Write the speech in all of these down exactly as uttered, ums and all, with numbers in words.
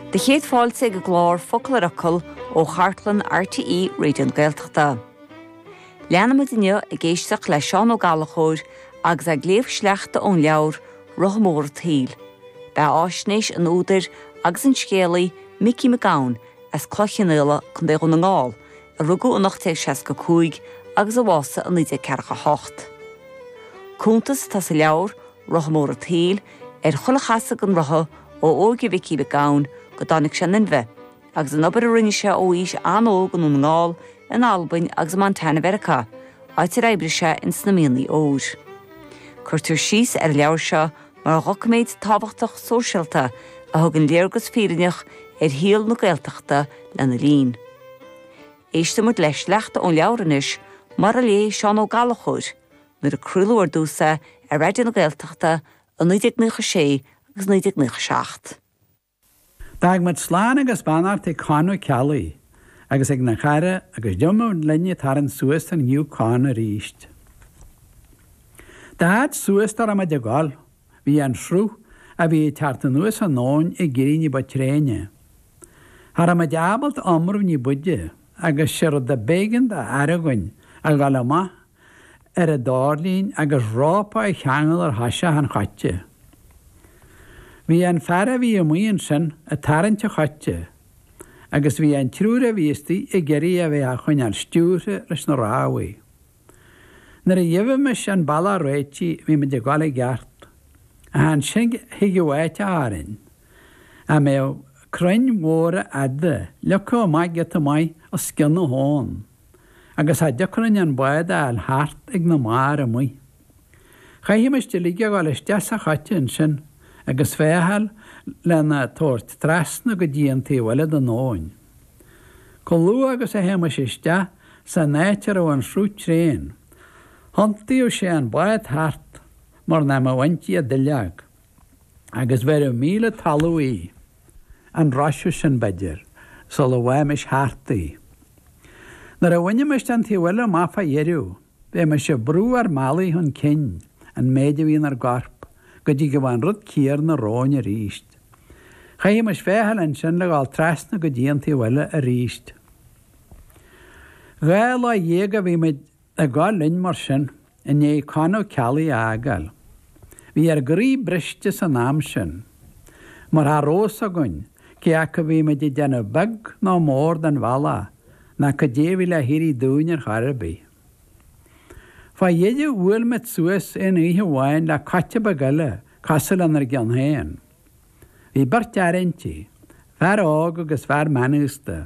Do chéad fáilte ag an gclár Focal ar Fhocal ó chartlann RTÉ Raidió na Gaeltachta. Leanfaimid inniu ag éisteacht le Seán Ó Gallchóir agus ag léamh sleachta ón leabhar Rotha Mór an tSaoil. Beathaisnéis an údair agus an scéalaí Micí Mac Gabhann as Cloich Cheann Fhaola, Contae Dhún na nGall, a rugadh in ocht déag seasca cúig agus a bhásaigh i naoi déag ceathracha hocht. Cuntas atá sa leabhar Rotha Mór an tSaoil ar chuile chasadh den rotha ó óige Mhicí Mhic Gabhann go dtáinig sé in inmhe, agus an obair a rinne sé ó aois an-óg i nDún na nGall, in Albain agus i Montana Mheiriceá, áit ar oibrigh sé ins na mianaigh óir. Cuirtear síos ar an leabhar seo mar dhoiciméad tábhachtach sóisialta a thugann léargas fírinneach ar shaol na Gaeltachta lena linn. Éistfimid le sleachta ón leabhar anois mar a léigh Seán Ó Gallchóir nuair a craoladh ar dtús é ar Raidió na Gaeltachta i naoi déag nócha sé agus naoi déag nócha seacht. D'fhág muid slán agus beannacht ag Con Ó Ceallaigh agus ag na cara agus d'imigh linn ag tarraingt suas an Yukon arís. Dá fhad suas dá raibh muid ag dul, bhí an sruth a bhí ag teacht anuas an abhainn ag éirí ní ba tréine. Cha raibh muid ábalta iomramh ní b'fhaide agus sé rud a b'éigean d'aire againn a dhul amach ar an doirlín agus rópa a cheangal ar thoiseach an choite. Bhí an fear a bhí amuigh ansin ag tarraingt an choite agus bhí an triúr a bhí istigh ag iarraidh a bheith á choinneáil stiúrtha leis na rámhaí. Nuair a gheibhimis an bealach réitithe bhí muid ag dul i gceart. Ach ansin thigeadh áit orainn a mbeadh crainn mhóra fhada leagtha amach giota maith os cionn na habhann, agus cha dtiocfadh linn an bád a fháil thart ag na mbarr amuigh. Chaithimis uilig a dhul isteach sa choite ansin agus féacháil lena tabhairt trasna go dtí an taobh eile den abhainn. Chomh luath agus a théimis isteach san áit a raibh an sruth tréan, thiontaíodh sé an bád thart mar nach mbeadh inti ach duilleog, agus bheireadh míle talamh í, an roiseadh sin b'fhéidir, sula bhfaighmis thart í. Nuair a bhainimis an taobh eile amach fá dheireadh, bheimis ag brú ár mbealaigh chun cinn, an méid a bhí inár gcorp, go dtí go mbeadh an rud céanna romhainn arís. Chaithimis féacháil ansin le dhul trasna go dtí an taobh eile arís. Dhá lá dhéag a bhí muid ag dul linn mar sin i ndiaidh Con Ó Ceallaigh a fhágáil. Bhí ár gcroí briste san am sin, mar cha raibh fhios againn cé acu a bhí muid ag déanamh beag nó mór den bhealach ná cad é a bhí le héirí dúinn ar chor ar bith. Fá dheireadh bhuail muid suas aon oíche amháin le coite beag eile cosúil lenár gceann féin. Bhí beirt fhear inti, fear óg agus fear meánaosta.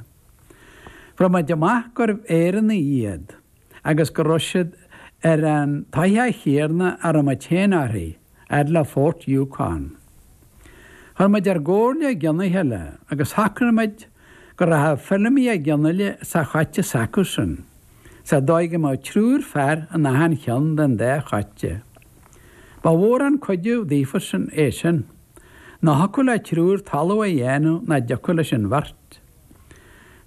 Fuair muid amach gurbh Éireannaigh iad agus go raibh siad ar an tsoitheach chéanna a raibh muid féin uirthi, fhad le Fort Yukon. Chuir muid ár gcomhairle i gcionn a chéile agus shocraigh muid go rachadh Feilimí Ó Donnghaile sa choite s'acusan, sa dóigh go mbeadh triúr fear in achan cheann den dá choite. Ba mhór an cuidiú daofasan é sin, nó thiocfadh le triúr talamh a dhéanamh nach dtiocfadh leis an bheirt.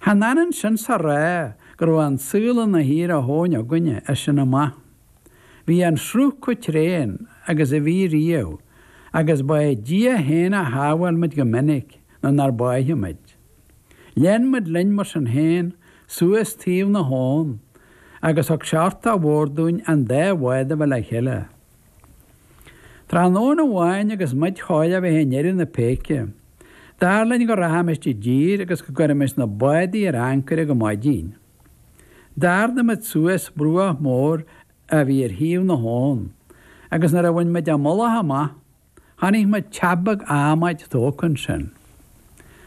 Chan ionann sin 's a rá go raibh an saol ina shaoire thóin againne as sin amach. Bhí an sruth chomh tréan agus a bhí riamh agus ba é Dia féin a shábháil muid go minic nó nár báitheadh muid. Lean muid linn mar sin féin suas taobh na habhann agus thug sé uchtach mhór dúinn an dá bhád a bheith le chéile. Tráthnóna amháin agus muid chóir a bheith i ndeireadh na péice, dar linn go rachaimis i dtír agus go gcuirfimis na bádaí ar ancaire go maidin. D'ardaigh muid suas bruach mór a bhí ar thaobh na habhann agus nuair a bhain muid an mullach amach, chonaic muid teach beag adhmaid tógtha ansin.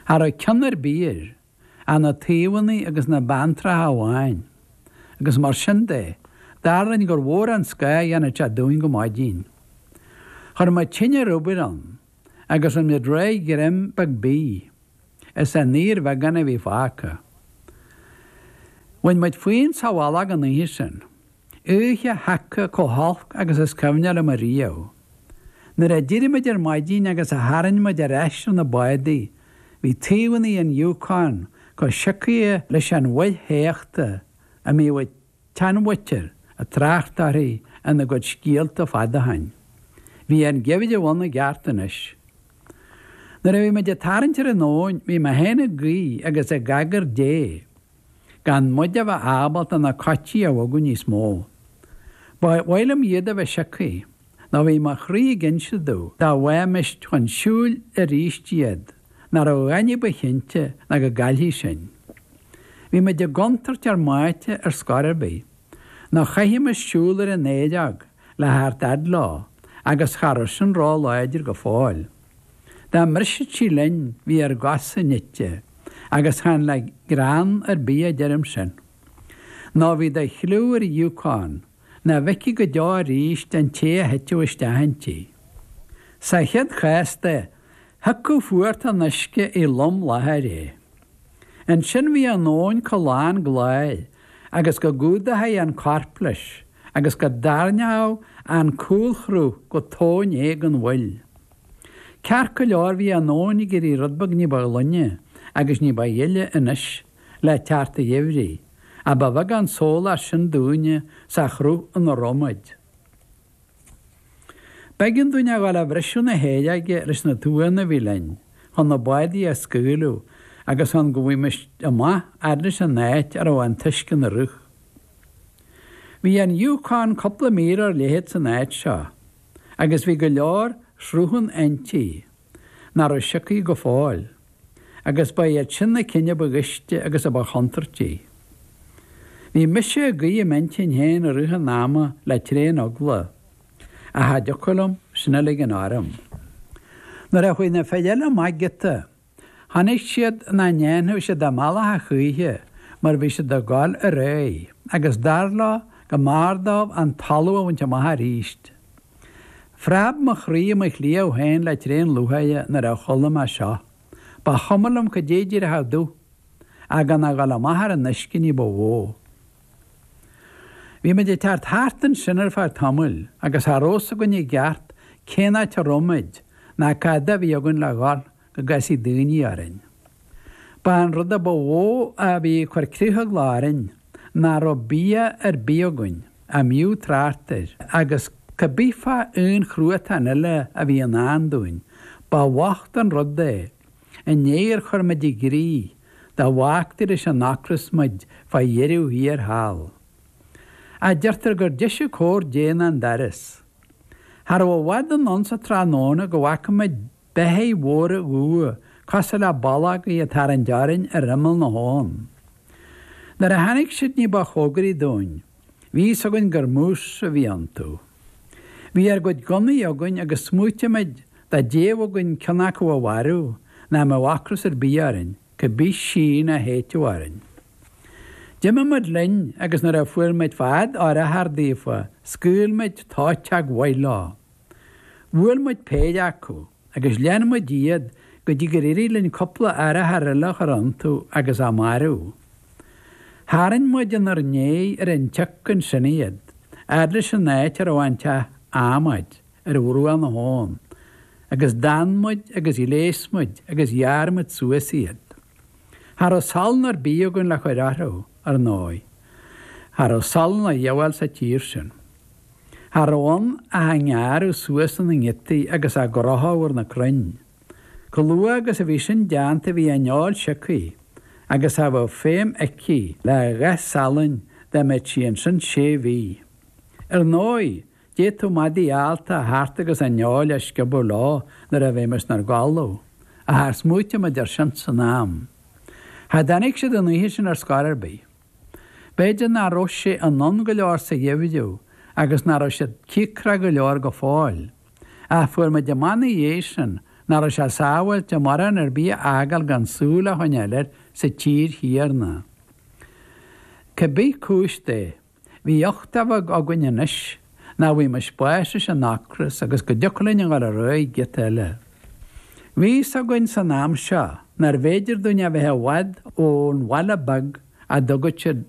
Cha raibh ceann ar bith air, ach na taobhanna agus na beanntracha amháin, agus mar sin de, dar linn gur mhór an scáth a dhéanfadh sé dúinn go maidin. Chuir muid tine rubair ann agus rinne muid réidh greim beag bídh, as an fhíorbheagán a bhí fágtha. Bhain muid fúinn sa mhullach an oíche sin. Oíche sheaca chomh holc agus is cuimhne liom ariamh. Nuair a d'éirigh muid ar maidin agus a tharraing muid ar ais ar na bádaí, bhí taobhanna an Yukon chomh siocaithe leis an bhfuil théachta a mbíodh an tseanmhuintir ag trácht uirthi ina gcuid scéalta fada ó shin. Bhí an geimhreadh ann i gceart anois. Nuair a bhí muid ag tarraingt ar an abhainn bhí mé féin ag guí agus ag agair Dé gan muid a bheith ábalta na coití a bhogadh níos mó. Ba mhaith liom iad a bheith sioctha, nó bhí mo chroí ag inse domh dá bhfaighimist chun siúil arís iad, nach raibh a dhath ní ba chinnte ná go gcaillfí sinn. Bhí muid i gcontúirt ár mbáite ar scor ar bith, nó chaithfimis siúl ar an fhairrge le theacht fhad leo, agus cha raibh sin ró-láidir go fóill. Dá mbrisfeadh sí linn bhí ár gcosa nite, agus chan le greann ar bith a deirim sin. Nó bhí de chliú ar Yukon nach bhfeicfí go deo arís an té a thitfeadh isteach inti. Sa chéad chás de, thiocfadh fuacht an uisce i lom láthair é. Ansin bhí an abhainn chomh lán gláir agus go gcumhdófaí an corp leis agus go dtarraingeodh an cúlshruth go tóin é den bhfuil. Ceart go leor bhí an abhainn ag éirí rud beag ní ba ghlaine agus ní ba ghile anois le teacht an gheimhridh, ach ba bheag an sólás sin dúinne sa chruth ina raibh muid. B'éigean dúinn a ghabháil a bhriseadh na hairléige leis na tuanna a bhí linn, chun na bádaí a scaoileadh agus chun go bhfuimis amach fhad leis an áit a raibh an t-uisce ina rith. Bhí an Yukon cúpla míle ar leithead san áit seo, agus bhí go leor sruthán inti nach raibh sioctha go fóill, agus ba iad sin na cinn a ba ghaiste agus a ba chontúirtí. Bhí mise ag guí i m'intinn féin i rith an ama le tréan eagla, ach cha dtiocfadh liom sin a ligean orm. Nuair a chuaigh na fir eile amach giota, chonaic siad nach ndéanfadh siad a mbealach a choíche mar bhí siad ag dul ar aghaidh, agus dar leo go mb'fhearr dóibh an talamh a bhaint amach arís. Phreab mo chroí i mo chliabh féin le tréan lúcháire nuair a chuala mé seo. Ba chuma liom cad é díreach a dúth, ach gan a dhul amach ar an uisce ní ba mhó. Bhí muid ag teacht thart ansin ar feadh tamaill agus cha raibh fhios againn i gceart cén áit a raibh muid ná cad a bhí againn le dhul go gcasfaí daoine orainn. Ba an rud a ba mhó a bhí ag cur critheagla orainn nach raibh bia ar bith againn a mb'fhiú trácht air agus cibé fá aon chruatan eile a bhí i ndán dúinn, ba bhocht an rud é i ndiaidh ar chuir muid i gcrích dá bhfágtaí leis an ocras muid fá dheireadh thiar thall. Ach deirtear gur deise cóir Dé ná an doras. Cha raibh i bhfad anonn sa tráthnóna go bhfaca muid beithígh mhóra dhubha cosúil le ballógaí ag tarraingt orainn ar imeall na habhann. Nuair a tháinig siad ní ba chóngaraí dúinn, bhí fhios againn gur mús a bhí iontu. Bhí ár gcuid gunnaí againn agus smaoitigh muid dá dtéadh againn ceann acu a mharú nach mbeadh ocras ar bith orainn, cibé síon a théiteadh orainn. D'imigh muid linn agus nuair a fuair muid fad urchar daofa, scaoil muid tóiteach mhaith leo. Bhuail muid péire acu agus lean muid iad go dtí gur éirigh linn cúpla urchar eile a chur iontu agus a marú. Tharraing muid inár ndiaidh ar an tsioc ansin iad, fhad leis an áit a raibh an teach adhmaid ar bhruach na habhann, agus d'fhan muid agus ghléas muid agus ghearr muid suas iad. Cha raibh salann ar bith againn le cur orthu, ar ndóigh. Cha raibh salann a dhíobháil sa tír sin. Cha raibh ann ach á ngearradh suas ina ngiotaí agus á gcrochadh ar na crainn. Chomh luath agus a bhí sin déanta bhí an fheoil sioctha, agus cha bheadh feidhm aici le a dhath salainn dá mbeadh sí ansin sé mhí. Ar ndóigh, d'fhéadfadh madaí allta a theacht agus an fheoil a sciobadh leo nuair a bheimis inár gcodladh, ach char smaoitigh muid air sin san am. Cha dtáinig siad an oíche sin ar scor ar bith. B'fhéidir nach raibh sé anonn go leor sa gheimhreadh agus nach raibh siad cíocrach go leor go fóill. Ach fuair muid amach ina dhiaidh sin nach raibh sé sábháilte mórán ar bith a fhágáil gan súil a choinneáil air sa tír chéanna. Cibé cúis de, bhí uchtach beag againn anois nach bhfuighmis bás leis an ocras agus go dtiocfadh linn a dhul ar aghaidh giota eile. Bhí fhios againn san am seo nárbh fhéidir dúinn a bheith i bhfad ón bhaile beag a dtugadh siad